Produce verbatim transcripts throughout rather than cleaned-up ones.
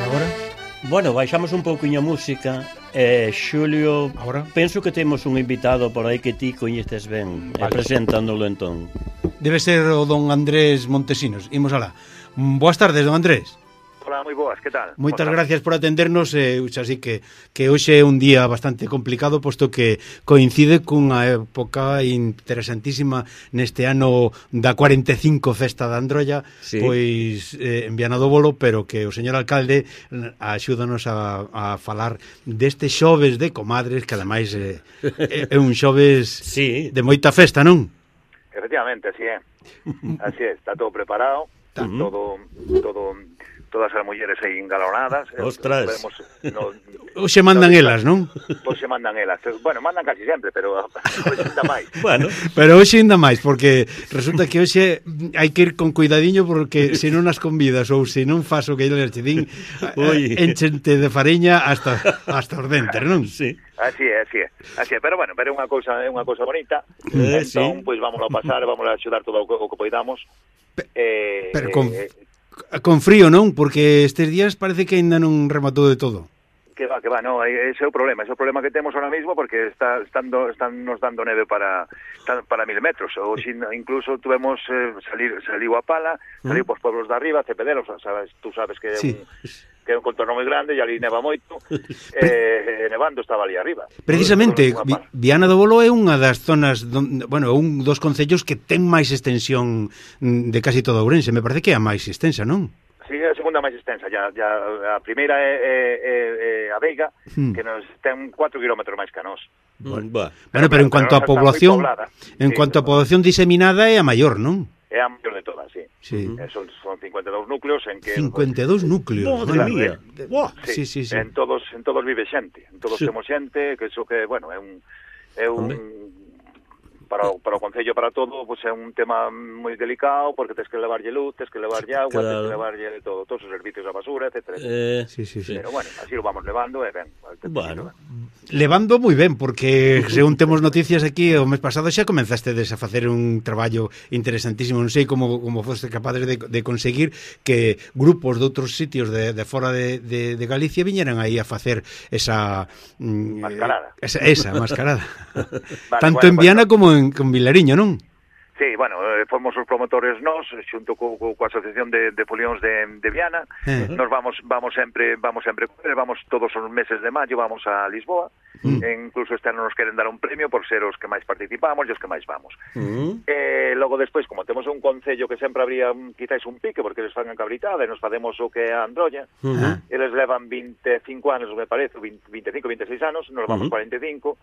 Agora? Bueno, baixamos un pouquiño a música. eh, Xulio, Agora? penso que temos un invitado por aí que ti coñeces ben. Vale. E preséntanoslo entón. Debe ser o don Andrés Montesinos. Imos alá. Mm, Boas tardes, don Andrés. Hola, moi boas, que tal? Moitas Boas gracias por atendernos, eh, así que que hoxe é un día bastante complicado, posto que coincide cunha época interesantísima neste ano da cuarenta e cinco Festa da Androlla, Sí. pois eh, en Viana do Bolo, pero que o señor alcalde eh, axúdanos a, a falar deste xoves de comadres, que ademais eh, é, é un xoves Sí. de moita festa, non? Efectivamente, así é. Así é, está todo preparado, está Ujú. todo, todo, todas as mulleres aí engalonadas. eh, Ostras. Vemos, no, Hoxe mandan elas, non? Pois se mandan elas. Bueno, mandan casi sempre, pero hoxe ainda máis. Bueno, Pero hoxe ainda máis, porque resulta que hoxe hai que ir con cuidadiño, porque se non as convidas ou se non fas o que eles te din, Ui. eh, enchente de fariña hasta hasta os dentes, non? sí. Así é, así é. Así é, pero bueno, pero é unha cousa, é unha cousa bonita. Eh, entón, sí. pois vamos a pasar, vamos a axudar todo o que, o que poidamos. Eh, Pero con, eh, con frío, non? Porque estes días parece que ainda non rematou de todo. Que va, que va, no, ese é o problema, ese é o problema que temos ahora mismo, porque está estando están nos dando neve para para mil metros, ou sin, incluso tuvemos eh, salir saliu a pala, saliu pos pueblos de arriba, Cepedelos, sabes, tú sabes que é Sí. un que é un contorno moi grande e ali neva moito, eh, nevando estaba ali arriba. Precisamente, Unha Vi- pala. Viana do Bolo é unha das zonas, don, bueno, un dos concellos que ten máis extensión mm, de casi toda Ourense, me parece que é a máis extensa, non? Sí, é a segunda máis extensa, ya, ya a primeira é, é, é, é a Veiga, Hmm. que nos ten catro kilómetros máis que a nós. Bueno, va. Bueno, pero en cuanto a Pero está moi población, poblada. en Sí, cuanto a pero- población diseminada é a maior, non? É a maior de todas, sí. Sí. Eh, son, son cincuenta e dous núcleos en que... cincuenta e dous núcleos. Madre Claro, mía. eh. Buah. Sí, sí, sí. En todos en todos vive xente, en todos Sí. temos xente, que iso que, bueno, é un é un Hombre. para o, para o concello, para todo, pues é un tema moi delicado, porque tens que levarlle luz, tens que levarlle agua, Claro. tens que levarlle todo, todos os servicios da basura, etcétera. Eh, Sí, sí, sí. Pero bueno, así lo vamos levando e ben. Bueno. Levando moi ben, porque según temos noticias aquí, o mes pasado xa comenzastedes a facer un traballo interesantísimo. Non sei como, como foste capazes de, de conseguir que grupos de outros sitios de, de fora de, de, de Galicia viñeran aí a facer esa... mm, Mascarada. Esa, esa mascarada. Vale, Tanto bueno, en Viana pues, como en, con Vilariño, non? Sí, bueno, eh, fomos os promotores nós, xunto co, co, coa Asociación de, de Folións de, de Viana. Eh. Nos vamos vamos sempre vamos sempre vamos todos os meses de maio vamos a Lisboa. Mm. E incluso este ano nos queren dar un premio por ser os que máis participamos e os que máis vamos. mm, Eh, logo despois, como temos un concello que sempre habría un, quizáis un pique porque eles fan a cabritada e nos facemos o que é a Androlla. Ah. Eles levan veinticinco anos, me parece, vinte, veinticinco, veintiséis anos, nos vamos Ujú. cuarenta e cinco,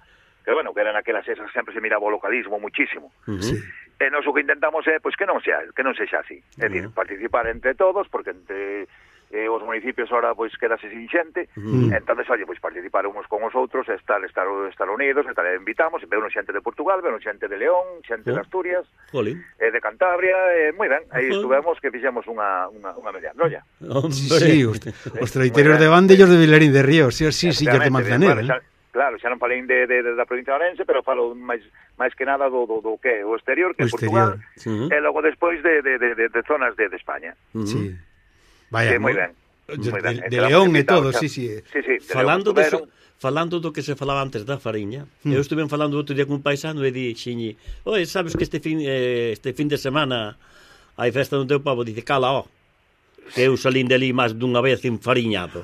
que bueno, que eran aquelas esas, sempre se miraba o localismo muchísimo. ujú. Sí. E nós o que intentamos é pois que non sea, que non sexa así. É dicir, participar entre todos, porque entre eh, os municipios ahora pois quedase sin xente. Mm. Entonces, oye, pois participar uns con os outros, estar estar estar unidos, estar invitamos, veo xente de Portugal, veo xente de León, xente Oh. de Asturias, Jolín. eh, de Cantabria, eh, moi ben. Aí Ujú. estuvemos que fixemos unha unha unha media Androlla. Hombre. Sí, sí, os, os traiteros de Bande e os de Vilarín de Ríos, sí, sí, sí, os de Efectivamente, Manzanera. bueno, xa, claro, xa non falei de, de, de, da provincia de Orense, pero falo máis máis que nada do, do, do que é o exterior, O que é Portugal, exterior. e logo despois de, de, de, de, de zonas de, de España. Ujú. Sí. Que Vaya, moi mo- ben. De, Moi ben. de, de Entramos León e invitados todo, xa. sí, sí. Sí, sí, de Falando León de estuveron. so, falando do que se falaba antes da fariña, Mm. eu estuve falando outro día con un paisano e dixeñe, "Oi, sabes que este fin eh, este fin de semana hai festa no teu pobo?" Dice, "Cala, ó, que eu salín de ali máis dunha vez enfariñado."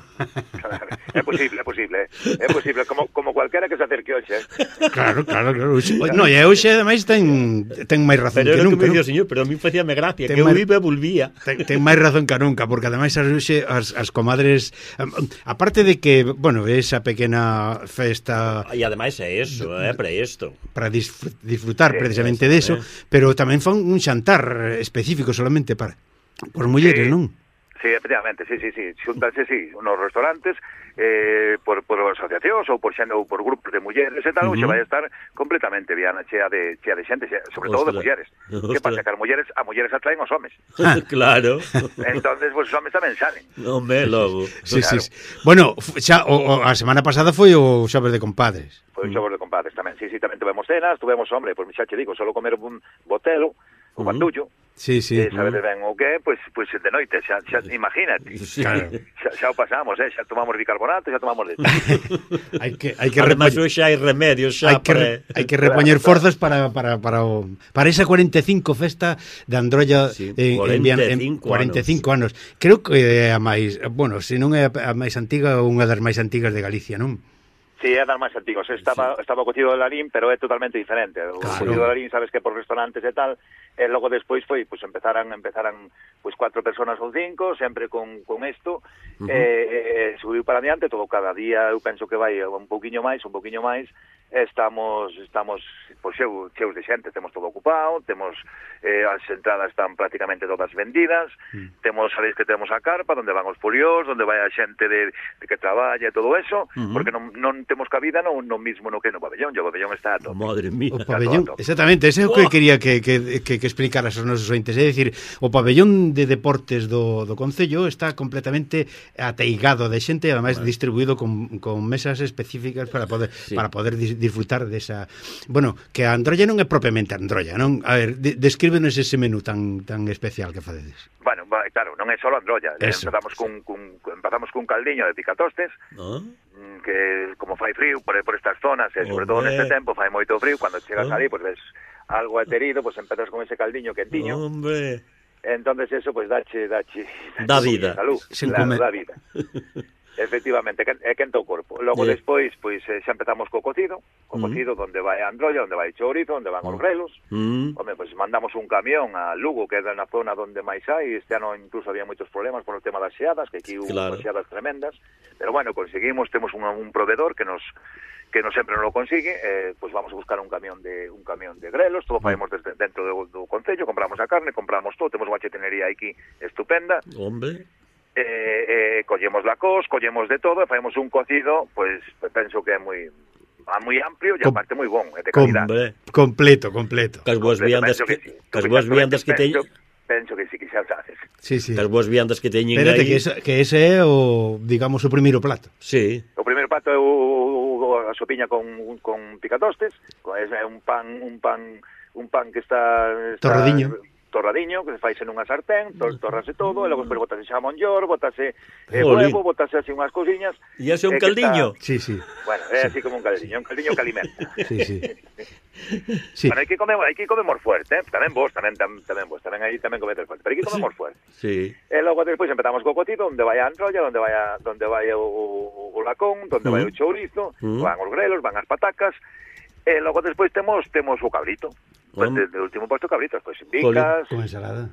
É posible, é posible, é posible, como, como cualquera que se acerque hoxe. Eh? Claro, claro, claro. Hoxe, no, e hoxe ademais ten ten máis razón Pero que era o que nunca. me dicía non? o señor, pero a mí facíame gracia, Ten que eu máis- iba e volvía. Ten, ten máis razón que nunca, porque ademais as, hoxe, as, as comadres, am- aparte de que, bueno, esa pequena festa E ademais é eso, é para isto. para disfr- disfrutar Sí, precisamente eso, de eso, eh. pero tamén fan un xantar específico solamente para por mulleres, Sí. non? Sí, efectivamente, sí, sí, sí. Xuntanse, sí, nos restaurantes, eh, por, por asociacións ou por, xeno, ou por grupos de mulleres e tal, Uh -huh. uh -huh. vai a estar completamente Viana, chea de, chea de xente, chea, sobre todo de Ostras. mulleres. Que Ostras. pasa? Que as mulleres, a mulleres atraen os homes. Claro. Entonces, pues, os homes tamén salen. Hombre, logo. Sí, Claro. sí, sí. Bueno, fu- xa o, o, a semana pasada foi o xoves de compadres. Pois xogos de compadres tamén. Sí, sí, tamén tuvemos cenas, tuvemos, hombre, pois xa che digo, solo comer un botelo, o bandullo. Sí, sí. Eh, sabedes ben o que, pois pois de noite, xa, xa imagínate. Sí. Claro. Xa, xa o pasamos, eh, xa tomamos bicarbonato, xa tomamos de hai que hai que Ademais, repoñer, hoxe hai remedios xa hai que para... re- hai que repoñer forzas para para para o para esa cuarenta e cinco festa de Androlla Sí, en, en, Viana- en cuarenta e cinco cuarenta e cinco anos. Creo que é a máis, bueno, se non é a máis antiga, unha das máis antigas de Galicia, non? Sí, é das máis antigos. Estaba, sí. estaba o cocido de Larín, pero é totalmente diferente. O Claro. cocido de Larín, sabes que por restaurantes e tal, e logo despois foi, pues empezaran, empezaran pues cuatro personas ou cinco, sempre con, con isto, uh -huh. e, e subiu para adiante, todo cada día, eu penso que vai un pouquiño máis, un pouquiño máis, estamos estamos pois cheu, cheus de xente, temos todo ocupado, temos eh, as entradas están prácticamente todas vendidas, mm. temos, sabéis que temos a carpa onde van os foliós, onde vai a xente de, de que traballa e todo eso, uh -huh. porque non, non temos cabida no, no mismo no que no pabellón, o pabellón está a tope. Madre mía. O pabellón, exactamente, ese é o que quería que, que, que, que explicaras aos nosos ointes, é dicir, o pabellón de deportes do, do Concello está completamente ateigado de xente e ademais vale. distribuído con, con mesas específicas para poder sí. para poder dis, disfrutar desa... Bueno, que a Androlla non é propiamente Androlla, non? A ver, de, descríbenos ese menú tan tan especial que facedes. Bueno, claro, non é só Androlla. Eso. Empezamos cun, cun, empezamos cun caldiño de picatostes, ¿no? Que como fai frío por, por estas zonas, e sobre todo neste tempo fai moito frío, cando chegas ¿Oh? ali, pues ves algo aterido, pues empezas con ese caldiño quentiño. Hombre. Entonces eso, pues dache, dache, dache da vida. Salud, claro, da vida. Efectivamente, é quenta o corpo. Logo yeah. despois, pois xa empezamos co cocido, co mm. cocido onde vai a Androlla, onde vai chourizo, onde van os grelos. Mm. Home, pois mandamos un camión a Lugo, que é na zona onde máis hai. Este ano incluso había moitos problemas por o tema das xeadas, que aquí hubo claro. xeadas tremendas. Pero bueno, conseguimos, temos un, un proveedor que nos que non sempre non lo consigue, eh, pois vamos a buscar un camión de un camión de grelos, todo faemos desde dentro do, do concello, compramos a carne, compramos todo, temos unha chetenería aquí estupenda. Hombre. Eh, eh, collemos la cos, collemos de todo e facemos un cocido, pois pues, penso que é moi moi amplio e aparte moi bon, é de calidad. Com completo, completo. Cas boas viandas que, que cas boas viandas que teñen. Penso que sí que xa haces. Sí, sí. Cas boas viandas que teñen aí. Espérate que ese, que ese é o, digamos, o primeiro plato. Sí. O primeiro plato é o, o a sopiña con con picatostes, é un pan un pan un pan que está, está torradiño. torradiño, que se faise nunha sartén, to, torrase todo, e logo despois botase xamón york, botase eh, huevo, botase así unhas cousiñas. E ese é un caldiño? Está... Sí, sí. Bueno, é sí. así como un caldiño, un caldiño que alimenta. Sí, sí. Sí. Bueno, hai que comer, hai que comemos fuerte, eh? Tamén vos, tamén, tamén, tamén vos, tamén aí tamén comedes fuerte, pero hai que comemos fuerte. Sí. E logo despois empezamos co cocido, onde vai a Androlla, onde vai a, donde vai o, o, o lacón, onde uh -huh. vai o chourizo, uh -huh. van os grelos, van as patacas, e logo despois temos temos o cabrito. Pues de, de último puesto cabritos, pues bicas... Con ensalada.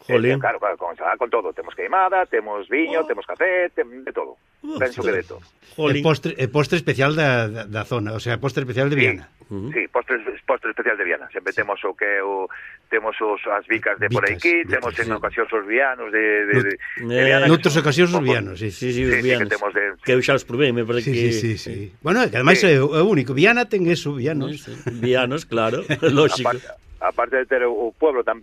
Eh, claro, claro, con ensalada, con todo. Temos queimada, temos viño, oh. temos café, tem, de todo. Oh, penso que de todo. E postre, postre especial da, da, da zona, o sea, postre especial de Viana. Sí, uh -huh. sí postre, postre especial de Viana. Sempre temos o que o temos os as vicas de por aquí, vicas, temos en sí. ocasións os vianos de, de, de, de Viana. Noutros ocasións os vianos, sí. Sí, sí, os sí, vianos. Sí, que, temos de... que eu xa os probei, me parece sí, que... Sí, sí, sí. Bueno, que ademais sí. é o único. Viana ten eso, vianos. Sí, sí. Vianos, claro, lógico. Aparte, aparte de ter o pueblo tan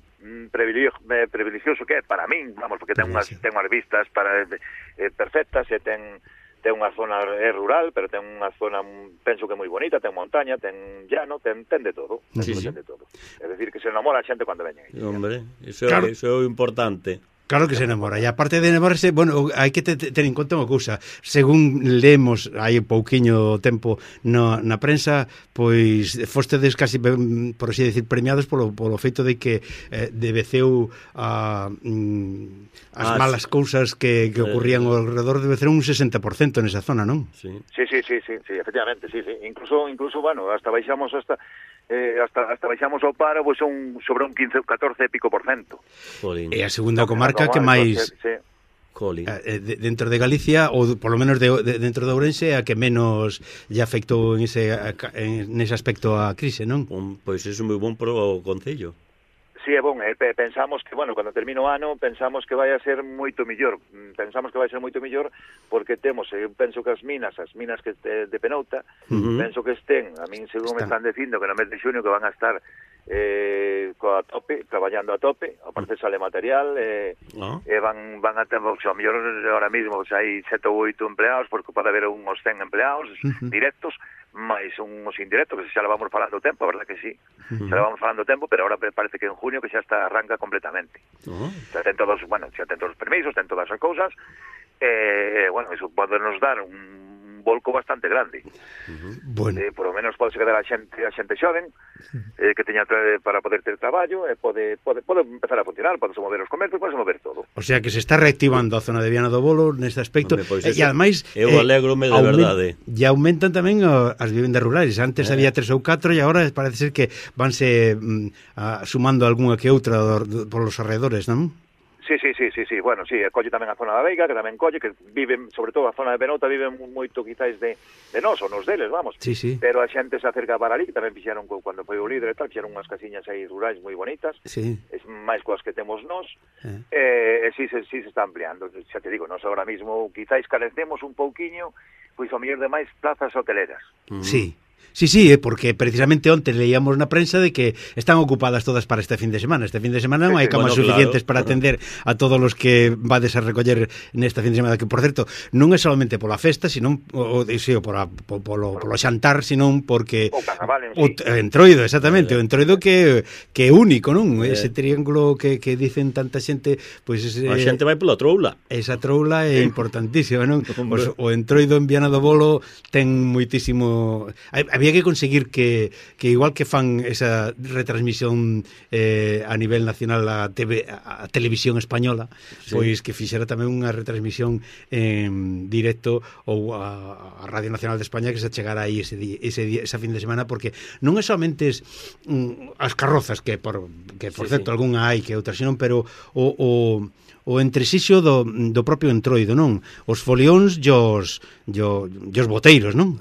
privilegioso que é para min, vamos, porque ten unhas, ten unhas vistas para, eh, perfectas e ten... ten unha zona é rural, pero ten unha zona, penso que moi bonita, ten montaña, ten llano, ten, ten de todo, sí, sí. ten de todo. É dicir, que se enamora a xente cando veñen. Hombre, iso, claro. iso é o importante. Claro que se enamora, e aparte de enamorarse, bueno, hai que ter en conta unha cousa, según leemos hai pouquiño tempo no, na prensa, pois fostedes casi, por así decir, premiados polo, polo feito de que eh, debeceu a, mm, as ah, malas sí. cousas que, que ocurrían ao alrededor, debeceu un sesenta por cento nesa zona, non? Sí, sí, sí, sí, sí, sí efectivamente, sí, sí. Incluso, incluso, bueno, hasta baixamos hasta... Eh, hasta, hasta baixamos ao paro, pois son sobre un quince, catorce e pico por cento. Jolín. É a segunda comarca que máis sí. eh, de, dentro de Galicia, ou polo menos de, de, dentro de Ourense, a que menos lle afectou en ese, en ese aspecto a crise, non? Um, pois é moi bon para o Concello. Sí, é bon, eh, pensamos que, bueno, cando termino o ano, pensamos que vai a ser moito millor, pensamos que vai ser moito millor porque temos, eu penso que as minas, as minas que de, de Penouta, uh -huh. penso que estén, a min según me están dicindo que no mes de xunio que van a estar eh, coa tope, traballando a tope, aparte sale material, eh, Ah. e van, van a ter, o sea, mellor ahora mismo pues, hai sete ou oito empleados, porque pode haber uns cen empleados Uh-huh. directos, máis uns indirectos, que xa le vamos falando o tempo, a verdad que sí, uh-huh. xa le vamos falando o tempo, pero ahora parece que en junio que xa está arranca completamente. Oh. Xa ten todos, bueno, xa ten todos os permisos, ten todas as cousas, e, eh, bueno, eso pode nos dar un volco bastante grande. Uh-huh. Bueno. Eh, por lo menos pode quedar a xente, a xente xoven, eh, que teña tra- para poder ter traballo, e pode, pode, pode empezar a funcionar, pode mover os comercios, pode mover todo. O sea que se está reactivando a zona de Viana do Bolo neste aspecto. Hombre, pois e, eso, e ademais eu alégrome de verdade. E aumentan tamén o, as vivendas rurales. Antes Eh. había tres ou catro e agora parece ser que vanse mm, a, sumando algunha que outra do, do, por los alrededores, non? Sí, sí, sí, sí, sí. Bueno, sí, colle tamén a zona da Veiga, que tamén colle, que viven, sobre todo a zona de Benota, viven moito quizáis de, de nós, ou nos deles, vamos. Sí, sí. Pero a xente se acerca para ali, que tamén fixeron, cando foi o líder e tal, fixeron unhas casiñas aí rurais moi bonitas, Sí. es máis coas que temos nós, Eh. e eh, sí, se, sí se está ampliando. Xa te digo, nós agora mismo quizáis carecemos un pouquiño, pois o mellor de máis plazas hoteleras. Uh-huh. Sí. Sí, sí, eh, porque precisamente onte leíamos na prensa de que están ocupadas todas para este fin de semana. Este fin de semana non hai camas Bueno, suficientes claro. para atender a todos os que vades a recoller nesta fin de semana, que, por certo, non é solamente pola festa, sino o, o, sí, o pola, po, polo, polo xantar, sino porque O carnaval en o sí. t- entroido, exactamente, o entroido que que é único, non? Eh. Ese triángulo que, que dicen tanta xente, pois ese, A xente vai pola troula. esa troula é importantísima, non? Hombre. Os, o entroido en Viana do Bolo ten moitísimo... Hai- Había que conseguir que, que igual que fan esa retransmisión eh, a nivel nacional a, T V, a televisión española, Sí. pois que fixera tamén unha retransmisión en directo ou a, a Radio Nacional de España, que se chegara aí ese, di, ese día, esa fin de semana, porque non é somente es, mm, as carrozas, que por, que por Sí, certo sí. algunha hai que outra, senón, pero o, o o entresixo do, do propio entroido, non? Os folións e os, e os, e os boteiros, non?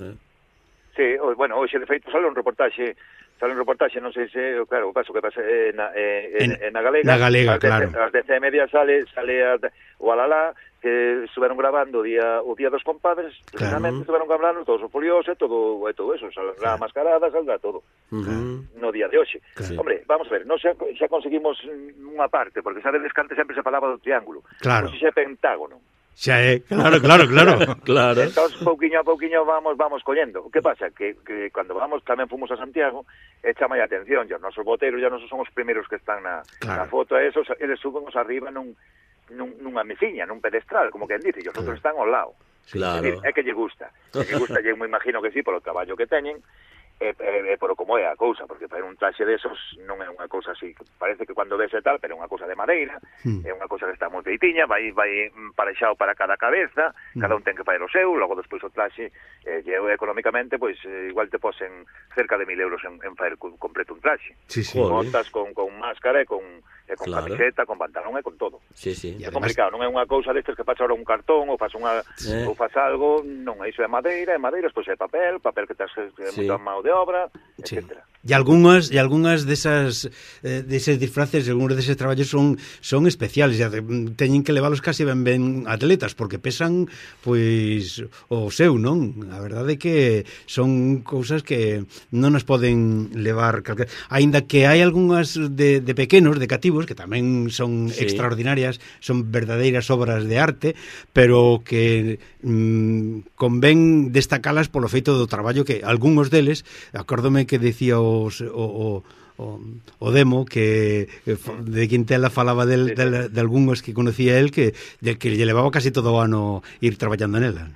Sí, o, bueno, hoxe de feito sale un reportaxe, sale un reportaxe, non sei se, claro, o caso que pasa eh, na, eh, en, En- en, na Galega. na Galega, ás dez- claro. Ás dez e media sale, sale a, o Alalá, que estuveron grabando o día, o día dos compadres, precisamente estuveron grabando todos os folios e todo, e todo eso, saldrá Claro. mascarada, saldrá todo. Uh-huh. No día de hoxe. Claro. Hombre, vamos a ver, non xa, xa conseguimos unha parte, porque sabedes que antes sempre se falaba do triángulo. Claro. Hoxe xa é pentágono. Xa é, claro, claro, claro. Claro. Entón, pouquiño a pouquiño vamos vamos collendo. O que pasa? Que, que cando vamos, tamén fomos a Santiago, e chama a atención, ya os nosos boteiros ya nosos son os primeiros que están na, Claro. na foto, e esos, eles subenos arriba nun, nun, nunha meciña, nun pedestral, como quen dice, e os outros están ao lado. Claro. É, dicir, é que lle gusta. É que gusta, lle me imagino que sí, polo traballo que teñen, e, e, e por como é a cousa, porque para un traxe desos non é unha cousa así, parece que cando ves e tal, pero é unha cousa de madeira, Hmm. é unha cousa que está moi feitiña, vai vai parexado para cada cabeza, cada un ten que fazer o seu, logo despois o traxe, eh, eu económicamente, pois eh, igual te posen cerca de mil euros en, en fazer co- completo un traxe. Sí, sí. Joder. Botas con, con máscara e con, e con Claro. camiseta, con pantalón e con todo. Sí, sí. Y É además- complicado, non é unha cousa destes que faz ahora un cartón ou faz unha Eh. ou faz algo, non, iso é madeira, é madeira, despois é papel, papel que tes que Sí. moita mão de obra, Sí. etcétera. E algunhas e algunhas desas eh, deses disfraces, algúns deses traballos son son especiales, e ade- teñen que leválos casi ben ben atletas porque pesan pois o seu, non? A verdade é que son cousas que non nos poden levar calquer... Aínda que hai algunhas de, de pequenos, de cativos, que tamén son Sí. extraordinarias, son verdadeiras obras de arte, pero que mm, convén destacalas polo feito do traballo que algúns deles, acórdome que decía os, o, o, o, o demo que de Quintela falaba del, Sí, sí. del, de algúns que conocía él que, de, que lle levaba casi todo o ano ir traballando nela.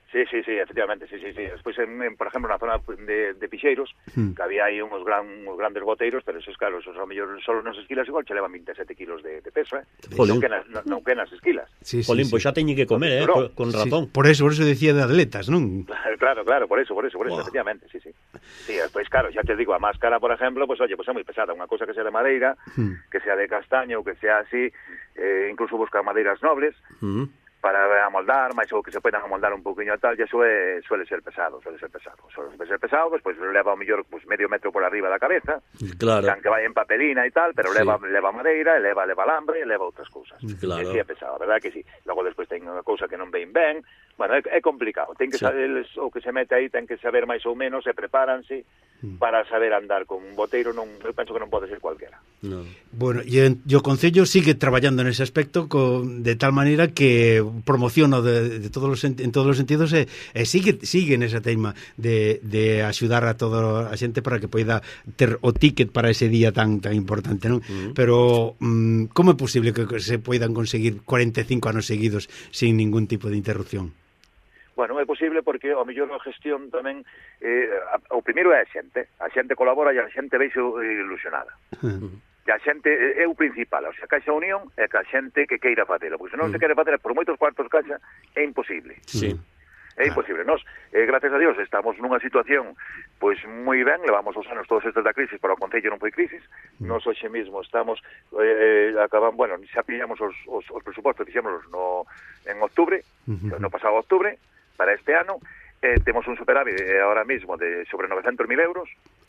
Sí, sí, sí, efectivamente, sí, sí, sí. Despois, en, en, por exemplo, na zona de, de Pixeiros, Hmm. que había aí uns, gran, uns grandes boteiros, pero esos, claro, esos a mellor solo nos esquilas igual che levan veintisiete kilos de, de peso, eh? Jolín. Non que nas, non, non que nas esquilas. Sí, sí, Jolín, sí. pois xa teñen que comer, eh, Pero- con Sí, razón. por eso, por eso decía de atletas, non? Claro, claro, por eso, por eso, por eso, Buah. efectivamente, sí, sí. Sí, despois, claro, xa te digo, a máscara, por exemplo, pues oye, pues é moi pesada, unha cousa que sea de madeira, Hmm. que sea de castaño, ou que sea así, eh, incluso buscar madeiras nobles, Uh-huh. para amoldar, máis o que se poden amoldar un poquinho e tal, e eso é, suele ser pesado, suele ser pesado. Suele ser pesado, pues, pues leva ao mellor pues, medio metro por arriba da cabeza, claro. que vai en papelina e tal, pero sí. leva leva madeira, leva leva alambre, e leva outras cousas. Claro. E sí é pesado, a verdade que sí. Logo despois ten unha cousa que non ven ben, bueno, é, é complicado. Ten que sí. saber, o que se mete aí ten que saber máis ou menos, e prepáranse mm. para saber andar con un boteiro, non, eu penso que non pode ser cualquiera. No. Bueno, e o Concello sigue traballando nese aspecto con, de tal maneira que promociona de, de todos los, en todos os sentidos e, e sigue sigue nesa teima de, de axudar a toda a xente para que poida ter o ticket para ese día tan tan importante, non? Uh-huh. Pero mm, como é posible que se poidan conseguir cuarenta e cinco anos seguidos sin ningún tipo de interrupción? Bueno, é posible porque ao mellor a gestión tamén eh, o primeiro é a xente, a xente colabora e a xente veixe ilusionada. Uh-huh. E a xente é o principal, o sea, Caixa Unión é que a xente que queira facelo, porque se non uh-huh. se quere facer por moitos cuartos Caixa é imposible. Sí. É imposible. Nos, eh, gracias a Dios, estamos nunha situación pois moi ben, levamos os anos todos estes da crisis, pero o Concello non foi crisis. Nos hoxe mesmo estamos eh, acaban, bueno, xa pillamos os, os, os presupostos, fixémonos no en octubre, uh-huh. no pasado octubre, para este ano, eh, temos un superávit eh, ahora mismo de sobre novecentos mil euros.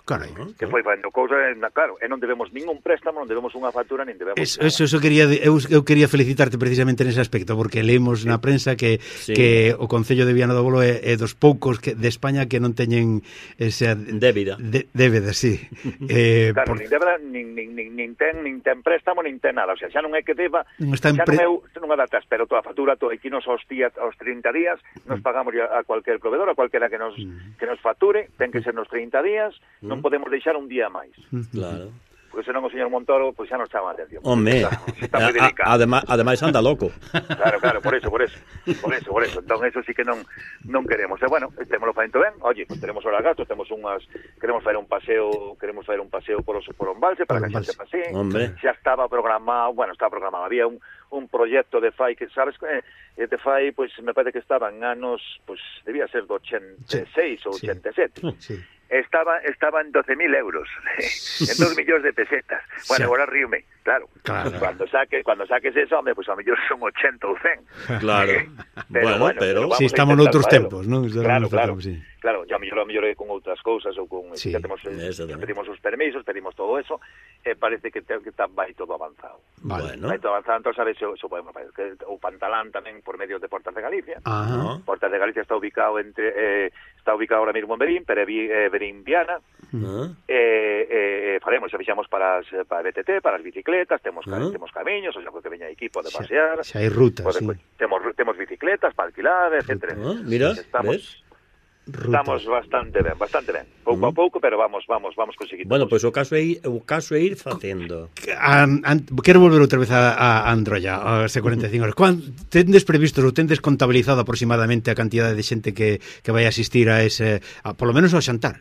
Carai, que foi facendo cousa, claro, e non debemos ningún préstamo, non debemos unha factura, nin debemos eso, eso, eso quería, eu, eu quería felicitarte precisamente nese aspecto, porque leemos sí. na prensa que, sí. que o Concello de Viana do Bolo é, é dos poucos que, de España que non teñen esa débida, de, débeda, sí. eh, claro, por... nin débeda, nin, nin, nin, nin, ten, nin ten préstamo, nin ten nada, o sea, xa non é que deba, non está xa pre... non é unha data, pero toda a factura, todo, aquí nos aos, días, aos trinta días, nos pagamos a, a cualquier proveedor, a cualquiera que nos, mm. que nos facture, ten que ser nos trinta días, mm. non podemos deixar un día máis. Claro. Porque senón o señor Montoro pois pues, xa non chama a atención. Home, está moi delicado. Ademais, ademais anda loco. Claro, claro, por eso, por eso. Por eso, por eso. Entón, eso sí que non non queremos. E bueno, temos o facendo ben. Oye, pues, tenemos horas gastos, temos unhas queremos fazer un paseo, queremos fazer un paseo por os por un balse para que a xente pasee. Xa estaba programado, bueno, estaba programado, había un un proxecto de F A I que sabes que eh, de F A I, pois pues, me parece que estaban anos, pois pues, debía ser do ochenta e seis sí. ou ochenta e sete. Sí. Estaba, estaba en doce mil euros, en dos millóns de pesetas. Bueno, sí. Agora ríome, claro. claro. Cuando saque, cuando saques eso, hombre, pues a mellor son ochenta ou cen. Claro. Pero, bueno, bueno, pero... Si sí, estamos noutros tempos, non? Claro, claro. Tempo, sí. Claro, ya a mellor, a mellor é con outras cousas ou con... Sí. Ya temos, ya pedimos os permisos, pedimos todo eso, e eh, parece que, te, que está, vai todo avanzado. Vale. Vai todo avanzado, entón, sabes, eso, eso podemos fazer. Que, o Pantalán tamén por medios de Portas de Galicia. Ajá. Portas de Galicia está ubicado entre... Eh, está ubicado ahora mismo en Berín, pero eh, Berín Viana. Uh-huh. eh, eh, faremos, xa fixamos para, as, para B T T, para as bicicletas, temos, uh-huh. temos camiños, o sea, que veña equipo de pasear. Xa hai rutas, pues, sí. Pues, temos, temos bicicletas para alquilar, etcétera. Uh-huh. Mira, estamos, ves? Estamos bastante ben, bastante ben. Pouco uh-huh. a pouco, pero vamos, vamos, vamos conseguindo. Bueno, pois pues, o caso é ir, o caso é ir facendo. An, an, quero volver outra vez a, a Androlla, a ese cuarenta e cinco horas. Quan tendes previsto ou tendes contabilizado aproximadamente a cantidade de xente que, que vai asistir a ese, a, por lo menos ao xantar?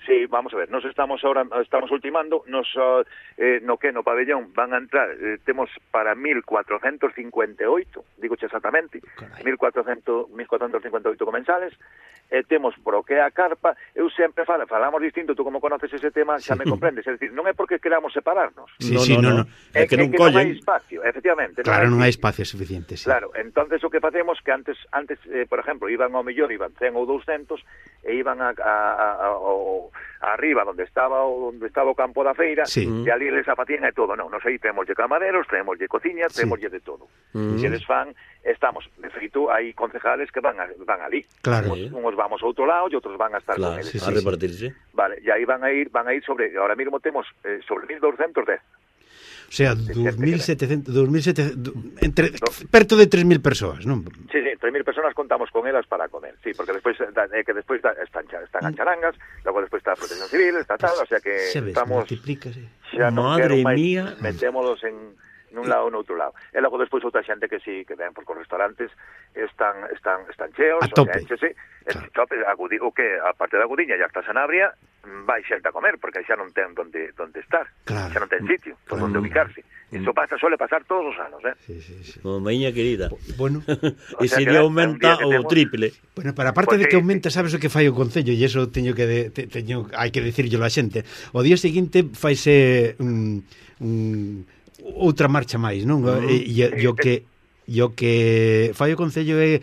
Sí, vamos a ver, nos estamos ahora estamos ultimando, nos uh, eh, no que no pabellón van a entrar, eh, temos para mil cuatrocientos cincuenta e oito, digoche exactamente, mil cuatrocientos cincuenta e oito comensales, e temos por o que a carpa, eu sempre falo, falamos distinto, tú como conoces ese tema, xa me comprendes, é dicir, non é porque queramos separarnos. Sí, sí, no, no, no. É, é que, non, que non hai espacio, efectivamente. Claro, non hai hai espacio suficiente, sí. Claro, entonces o que facemos que antes, antes eh, por exemplo, iban ao mellor, iban cen ou doscientos, e iban a, a, a, a, a arriba, onde estaba o, onde estaba o campo da feira, sí. E ali les afatían e todo, non, nos aí temos de camareros, temos de cociña, temos de todo. Mm. E eles fan, estamos, de feito, hai concejales que van, a, van ali. Claro. Uns, uns vamos a outro lado e outros van a estar claro, con eles. Sí, sí, a repartirse. Vale, e aí van a ir, van a ir sobre, ahora mismo temos eh, sobre mil doscientos dez. O sea, dos mil setecentos, dos mil setecentos, entre, no. Perto de tres mil persoas, non? Sí, sí, tres mil personas contamos con elas para comer, sí, porque despois eh, que despois da, están, están as charangas, logo despois está a Protección Civil, está tal, o sea que se ves, estamos... Xa non Madre máis, mía... metémolos en... nun lado ou no outro lado. E logo despois outra xente que sí, que ven, porque os restaurantes están están están cheos, a tope. O sea, échese, claro. Tope, agudi, o que, a parte da Agudiña, ya está Sanabria, vai xente a comer, porque xa non ten donde, donde estar, claro. Xa non ten sitio, por claro. Onde ubicarse. Iso pasa, suele pasar todos os anos, eh? Sí, sí, sí. Como miña querida. Bueno. E se lle aumenta o temos... triple. Bueno, para parte pues de que sí, aumenta, sabes o que fai o Concello, e iso teño que de, te, teño, hai que dicirlo a xente. O día seguinte faise un... un outra marcha máis, non? Uh-huh. E, e, e o que e o que fai o Concello é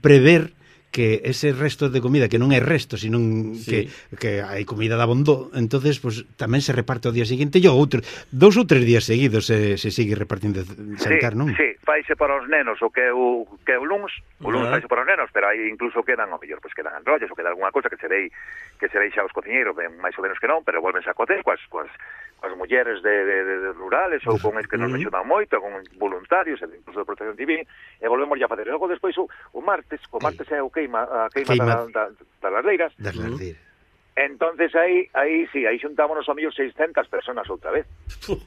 prever que ese resto de comida, que non é resto, sino sí. que, que hai comida de abondo, entonces pues, tamén se reparte o día seguinte e outro, dous ou tres días seguidos se, se sigue repartindo xantar, non? Sí, faise para os nenos o que é o, que é o luns, o luns Ah. faise para os nenos, pero aí incluso quedan, ao mellor, pues quedan enrollos ou queda alguna cosa que se dei que se deixa aos cociñeiros, ben máis ou menos que non, pero volvense a cocer coas, coas, coas mulleres de, de, de, de rurales ou con es que nos Uh-huh. axudan moito, con voluntarios, incluso de protección civil, e volvemos a facer. E logo despois o, o martes, o martes é o queima, a queima, Queima. da, da, das ladeiras. Das Mm. lardeiras. Entonces aí, aí sí, aí xuntámonos ao mellor seiscentas personas outra vez. Uf,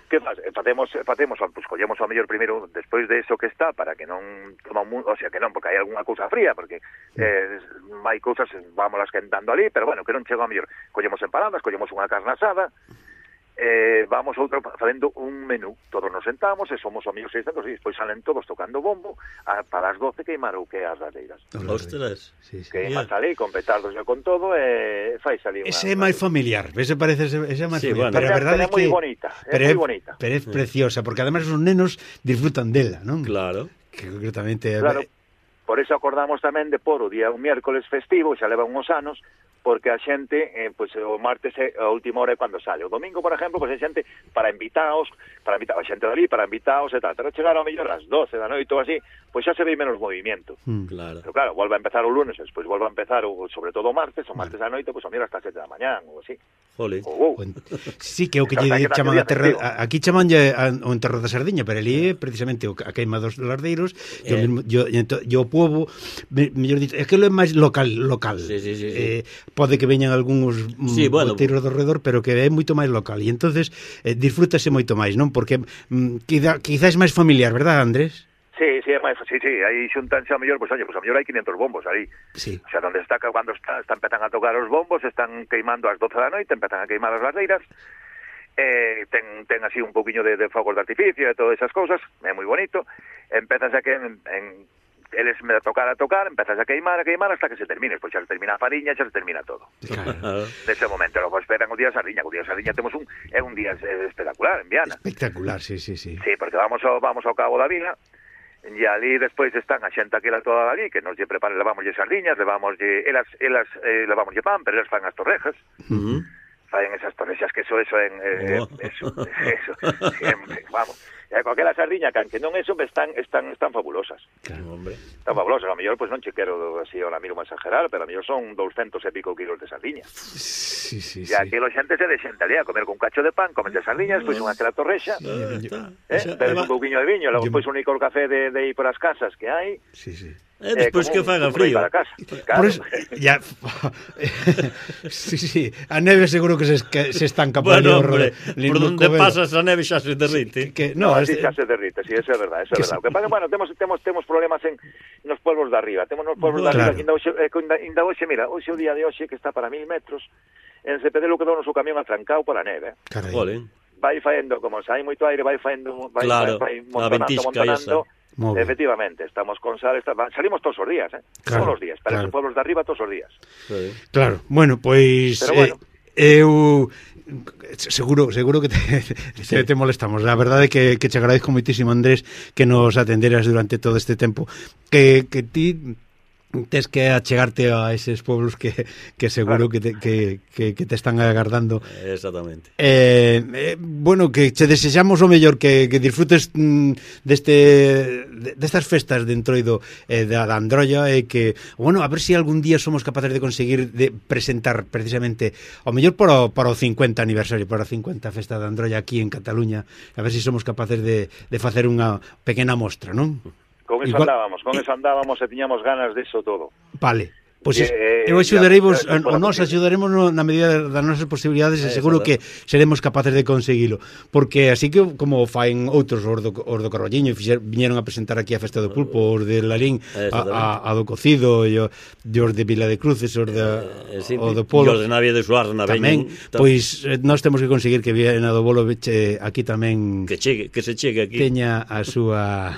Que fa- facemos, facemos, pues collemos ao mellor primeiro despois de eso que está para que non toma un, o sea, que non, porque hai algunha cousa fría, porque eh, hai cousas, vámolas quentando ali, pero bueno, que non chega ao mellor. Collemos empanadas, collemos unha carne asada, eh, vamos outro facendo un menú, todos nos sentamos e somos ao mellor seiscentos e despois salen todos tocando bombo a, para as doce queimar o que é as ladeiras. ostras. Sí, sí. Que Yeah. yeah. ali con petardos e con todo e fai salir unha... Ese é máis familiar, ese parece ese é máis Sí, familiar, bueno. pero a Pero é- verdade é pero é moi que bonita, é pero moi bonita. Pero é preciosa, porque además os nenos disfrutan dela, non? Claro. Que concretamente Claro, por eso acordamos tamén de por o día un miércoles festivo, xa leva uns anos, porque a xente, eh, pues, o martes é a última hora é cando sale. O domingo, por exemplo, pues, a xente para invitaos, para invitar a xente dali, para invitaos e tal. Pero chegar ao mellor ás doce da noite ou así, pois pues xa se ve menos movimento. Mm. Claro. Pero claro, volve a empezar o lunes, despois volve a empezar, o, sobre todo o martes, o martes da noite, pois pues, a mellor hasta sete da mañán, ou así. Jole. Ou, ou. Sí, que é o que lle Hasta que chaman a nace o terra, día festivo. a- aquí chamanlle a- o enterro da sardiña, pero ali é precisamente o, a queima dos lardeiros, e o Eh. mismo yo ento, yo o pobo, me, mellor dito, é que lo é máis local, local. Sí, sí, sí, sí. Eh, pode que veñan algúns Sí, bueno. boteiros do redor, pero que é moito máis local. E entonces eh, disfrútase moito máis, non? Porque mm, quizá, quizás máis familiar, verdad, Andrés? Sí, sí, é máis, sí, sí, aí xuntanse ao mellor, pois pues, oye, pois pues, ao mellor hai quinhentos bombos aí. Sí. O sea, donde está, cando está, está empezan a tocar os bombos, están queimando ás doce da noite, empezan a queimar as ladeiras, eh, ten, ten así un poquinho de, de fogos de artificio e todas esas cousas, é moi bonito, empezas a que en, en eles me a tocar a tocar, empezas a queimar, a queimar hasta que se termine, pois xa se termina a fariña, xa se termina todo. Claro. Nese momento, logo esperan o día de Sardiña, o día de Sardiña temos un, é un día eh, espectacular en Viana. Espectacular, sí, sí, sí. Sí, porque vamos ao, vamos ao Cabo da Vila, e ali despois están a xente aquela toda ali, que nos lle preparan, levamoslle sardiñas, levamoslle, elas, elas eh, levamoslle pan, pero elas fan as torrejas, Ujú. faen esas torrexas que eso, eso en, eh, Oh. eso, eso, siempre, vamos. E con aquela sardiña, can que non eso, están, están, están fabulosas. Claro, hombre. Están fabulosas, a mellor, pois non che quero así ahora mismo exagerar, pero a mellor son doscientos e pico kilos de sardiña. Sí, sí, E sí. aquí a xente se de xente ali a comer con un cacho de pan, comen de sardiñas, pois unha aquela torrexa, Ah, está. eh, Xa- bebes eva- un pouquiño de viño, logo Yo- pois un licor café de, de ir por as casas que hai, Sí, sí. Eh, despois como que un- faga como ir frío. para casa. Por Claro. eso, ya, sí, sí, a neve seguro que se, que se estanca por Bueno, ali, hombre, ali por no donde Covelo. pasas a neve xa se derrite. Que, No, no, así este, xa se derrite, sí, eso é verdad, eso é Que verdad. se- O que pasa, bueno, temos temos temos problemas en nos pueblos de arriba, temos nos pueblos de Claro. arriba, que ainda hoxe, eh, que ainda, ainda hoxe, mira, hoxe o día de hoxe que está para mil metros, en Cepedelo quedou no seu camión atrancado pola neve. carai. Jole. Vai faendo, como se hai moito aire, vai faendo, vai, Claro, vai, vai a montonando, ventisca montonando. Moi ben. Efectivamente, estamos con sal, está, salimos todos os días, eh? Claro, todos os días, para claro. esos pueblos de arriba todos os días. Sí. Claro, bueno, pois Pero bueno. eh, eu seguro, seguro que te, te, te molestamos. A verdade é que, que te agradezco moitísimo, Andrés, que nos atenderas durante todo este tempo. Que, que ti tes que achegarte a eses pueblos que, que seguro Claro. que, te, que, que, que te están agardando. Exactamente. Eh, eh, bueno, que che desexamos o mellor, que, que disfrutes mm, deste de, destas festas de Entroido eh, da, da Androlla, e que, bueno, a ver se si algún día somos capaces de conseguir de presentar precisamente o mellor para o, para o cincuenta aniversario, para a cincuenta festa da Androlla aquí en Cataluña, a ver se si somos capaces de, de facer unha pequena mostra, non? Con eso Igual- andábamos, con eso andábamos e tiñamos ganas de eso todo. Vale. Pois Eh, es, eh, eu ya, axudaremos, ya, ya, o nós posible. axudaremos no, na medida das nosas posibilidades, e Eh, seguro que exacto. seremos capaces de conseguilo, porque así que como faen outros os do, os do Carballiño, fixer, viñeron a presentar aquí a Festa do Pulpo, os de Larín, a, a, a do Cocido, e o, e os de Vila de Cruces, os de, Eh, sí, o do e Polo. os de Navia de Suárez na Tamén, veñen, tam- pois eh, nós temos que conseguir que Viana do Bolo veche aquí tamén que chegue, que se chegue aquí. teña a súa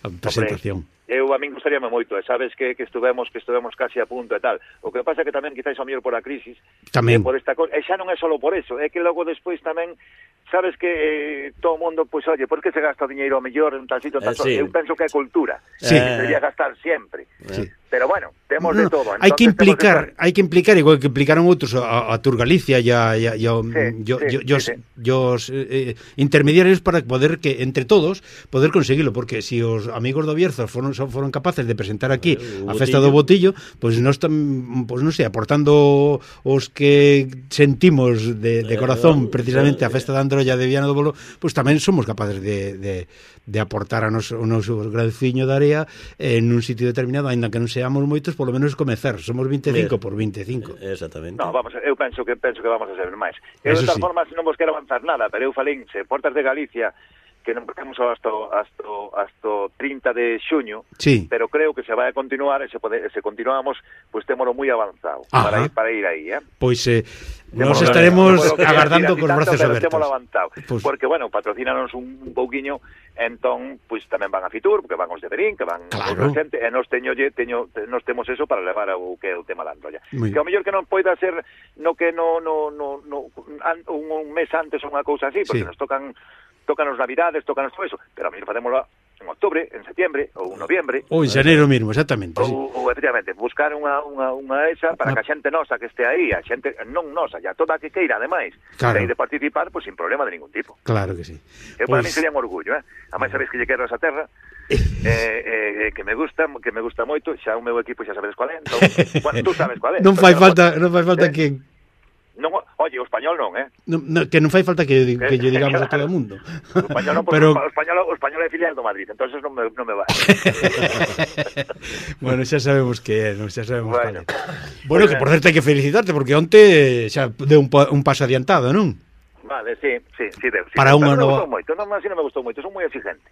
a presentación. eu a min gustaríame moito, e sabes que, que estuvemos que estuvemos casi a punto e tal. O que pasa é que tamén quizáis ao mellor por a crisis, tamén. por esta cosa, e xa non é só por eso, é que logo despois tamén sabes que eh, todo o mundo, pois, pues, oye, por que se gasta o diñeiro ao mellor en tal sitio, tal eh, sí. Eu penso que é cultura, sí. que debería gastar sempre. Sí. Pero bueno, temos no, de todo. Hai que implicar, que... hai que implicar igual que implicaron outros a, a Tour Galicia e a, a, a, sí, yo, sí, yo, sí, sí. os eh, intermediarios para poder que entre todos poder conseguilo, porque se si os amigos do Bierzo foron foron capaces de presentar aquí uh, a festa do Botillo, pois pues non están, pois pues non sei, aportando os que sentimos de, de corazón precisamente a festa da Androlla de Viana do Bolo, pois pues tamén somos capaces de, de, de aportar a nos, o noso granciño de area en un sitio determinado, aínda que non seamos moitos, polo menos comezar. Somos veinticinco por veinticinco. Exactamente. No, vamos, eu penso que penso que vamos a ser máis. Eu Eso de tal sí. forma non vos quero avanzar nada, pero eu falín, se Portas de Galicia que non temos hasta hasta hasta trinta de xuño, sí. pero creo que se vai a continuar e se pode, se continuamos, pois pues, témolo moi avanzado. Ajá. para ir para ir aí, eh. Pois eh, nos Témolo, estaremos no agardando decir, cos brazos tanto, abertos. Levantado, Pues... porque bueno, patrocínanos un, un pouquiño, entón, pois pues, tamén van a Fitur, porque van os de Berín, que van claro. outra xente, e nos teño, teño nos temos eso para levar o que é o tema da Androlla. Muy que ao mellor que non poida ser no que no no no, no un, un mes antes ou unha cousa así, porque sí. nos tocan tocan os Navidades, tocan todo eso, pero a mí facémoslo en octubre, en setembro ou en noviembre. Ou en xaneiro mesmo, exactamente. Ou, sí. ou efectivamente, buscar unha, unha, unha esa para que a xente nosa que este aí, a xente non nosa, ya toda a que queira, ademais, claro. de, de participar, pues sin problema de ningún tipo. Claro que sí. Eu, para pues... mí sería un orgullo, eh? Ademais, sabéis que lle quero esa terra, eh, eh, que me gusta, que me gusta moito, xa o meu equipo xa sabedes cuál é, entón, bueno, tú sabes cuál é. Non fai falta, non fai falta eh? que Non, oye, o español non, eh? No, no, que non fai falta que, que lle digamos a todo o mundo. O español non, pero... o español, o español é filial do Madrid, entonces non me, non me va. Bueno, xa sabemos que é, non xa sabemos bueno. cuál é. Bueno, que por certo hai que felicitarte, porque onte xa deu un, un paso adiantado, non? Vale, sí, sí, sí, deu. Sí, para unha nova... non me gustou moito, non, así non me gustou moito, son moi exigente.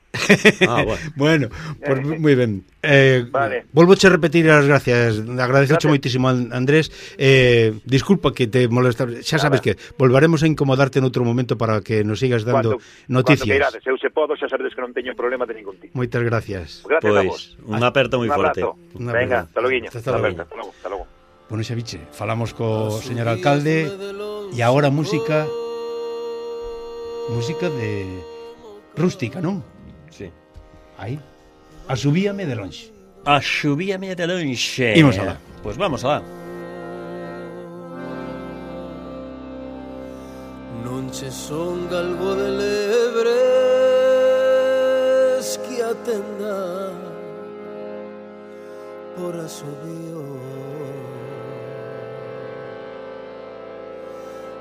Ah, bueno. Bueno, pues moi ben. Eh, vale. Volvoche a repetir as gracias. Agradececho moitísimo a Andrés. Eh, disculpa que te molesta. Xa sabes Nada. que volvaremos a incomodarte en outro momento para que nos sigas dando cuando, noticias. Cuando queirades, eu se podo, xa sabedes que non teño problema de ningún tipo. Moitas gracias. Gracias pois, a vos. Un aperto moi forte. Una Venga, hasta logo. Hasta logo. Hasta logo. Hasta logo. Bueno, xa biche, falamos co señor alcalde e agora música música de rústica, non? Sí. Aí. Asubíame de lonxe. Asubíame de lonxe. Imos alá. Pois pues vamos alá. Non che son galgo de lebres que atenda por asubío.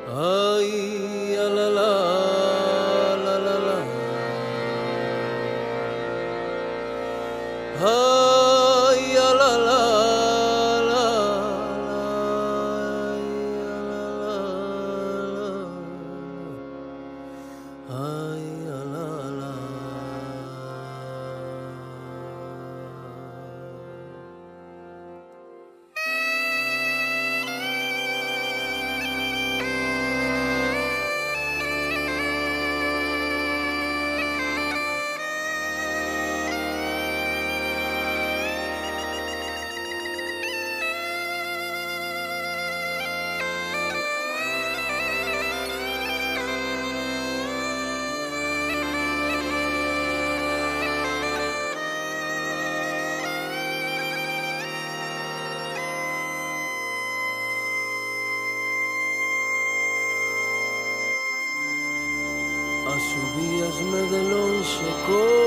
Ay, a la la, la la la. Ay, a la la, la la. Ay, a la la. Asubíasme de lonxe con